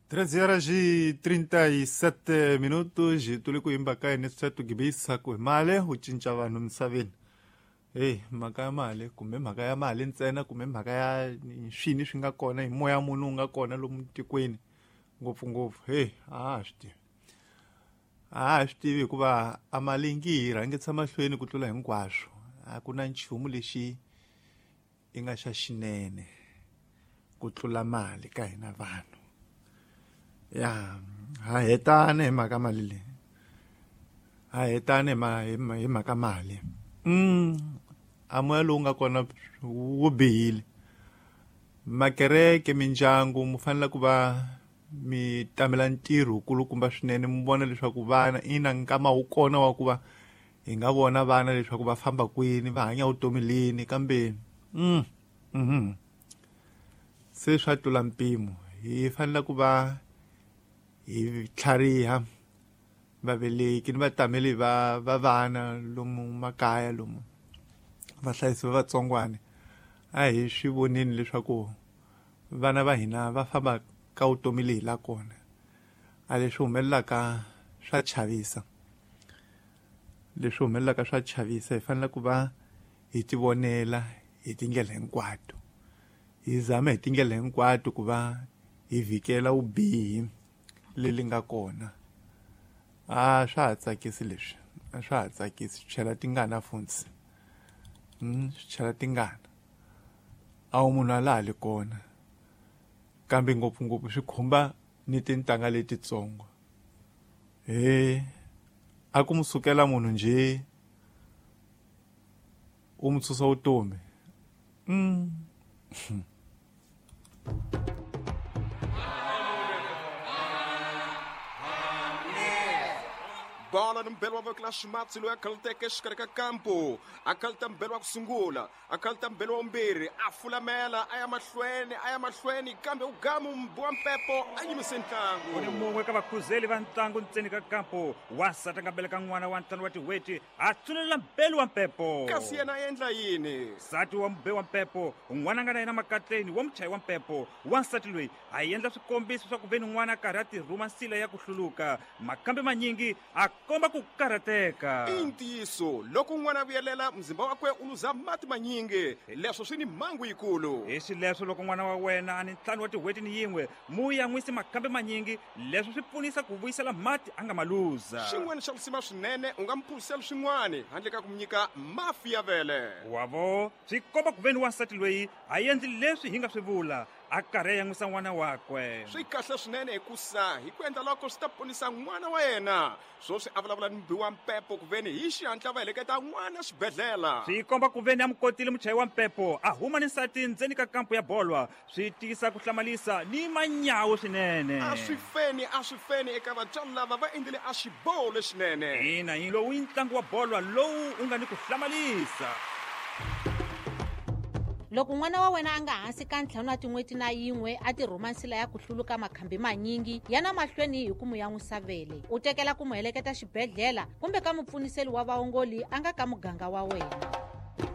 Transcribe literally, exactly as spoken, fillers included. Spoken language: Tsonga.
treze horas e trinta e sete minutos tuli ku yimba ka yini swi tugibisa ku hi mali u cinca vanhu misaveni. Hey, mhaka ya mali kumbe mhaka ya mali ntsena kumbe mhaka ya swini swi nga kona hi moya munhu wu nga kona lomu tikweni ngopfungopfu. Hey, a ha swi tivi, a ha swi tivi hikuva a mali ngi hi rhangisa mahlweni ku tlula hinkwaswo. A ku na nchumu lexi i nga xa xinene ku tlula mali ka hina vanhu. Ya ha hetana hi mhaka mali leyi, ha hetana hi hi mhaka mali. Mm a moya lowu nga kona wu bihile. Makereke, mindyangu mu fanele ku va mi tamela ntirho wukulukumba swinene, mi vona leswaku vana ina nkama wu kona wa ku va hi nga vona vana leswaku va famba kwini, va hanya vutomi lini, kambe mm mhm se swa tlula mpimo. Hi fanele ku va hi tlhariha vaveleki ni vatameli va va vana lomu makaya, lomu vahlayisi va vatsongwana. A hi swi voneni leswaku vana va hina va famba ka vutomi leyi la kona. A leswi humelelaka swa chavisa, leswi humelelaka swa chavisa. Hi fanele ku va hi tivonela hi tindlela hinkwato, hi zama hi tindlela hinkwato ku va hi vhikela vubihi leli nga kona. A swa ha tsakisi leswi, a swa ha tsakisi, swi chela tingana funtsi. Mm, swi chela tingana. A wu munhu a laha li kona, kambe ngopfungopfu swi khumba ni tintangha letitsongo. He, a ku mu sukela munhu njhe u mu susa vutomi. Mm. Bola ni mbelo wa voko la ximatsi loyi a khaluteke exikarhi ka kampo, a khaluta mbelo wa ku sungula, a khaluta mbelo wa vumbirhi, a fulamela a ya mahlweni, a ya mahlweni, kambe u gamu mbu wa mpepo a yimise ntlangu. Ku ni mun'we ka vakhuzeli va ntlangu ntseni ka kampo, wansati a nga beleka n'wana wa ntlhanu wa tin'hweti, a tsunelela mbelo wa mpepo. Kasi yena a endla yini? Nsati wa mube wa mpepo, n'wana a nga na yena makatleni wa muchayi wa mpepo. Wansati loyi a endla swikombiso swa ku ve ni n'wana a karhi a tirhuma nsila ya ku hluluka, makambe manyingi a komba ku karhateka. I ntiyiso, loko n'wana a vuyelela muzimba wakwe u luza mati manyingi, leswo swi ni mhangu yikulu. Hi xileswo loko n'wana wa wena a ni ntlhanu wa tin'hweti ni yin'we, mu yan'wisi makambe manyingi, leswo swi pfunisa ku vuyisela mati a nga ma luza. Xin'wana xa risima swinene, u nga mu phuzisela swin'wana handle ka ku mu nyika mafi ya vele. Wavo swi komba ku ve ni wansati loyi a endli leswi hi nga swi vula, a karhi a yan'wisa n'wana wakwe. Swi kahle swinene hikusa hi ku endla loko swi ta ponisa n'wana wa yena. Swoswi a vulavula ni mubi wa mpepo ku veni hi xihatla va heleketa n'wana xibedhlele. Swi komba ku veni a mu kotile muchayi wa mpepo a huma ni nsati ndzeni ka kampo ya bolwa, swi tiyisa ku hlamalisa ni manyawu swinene. A swi feni, a swi feni eka vatswari lava va endlile a xiboho lexinene. Ina, hi lowu i ntlangu wa bolwa lowu u nga ni ku hlamalisa. Loko n'wana wa wena a nga hansi ka ntlhanu wa tin'hweti na yin'we a tirhuma nsila ya ku hluluka makhambi manyingi, yana mahlweni hi ku mu yan'wisa vele, u tekela ku mu heleketa xibedhlele kumbe ka mupfuniseli wa vaongoli a nga ka muganga wa wena.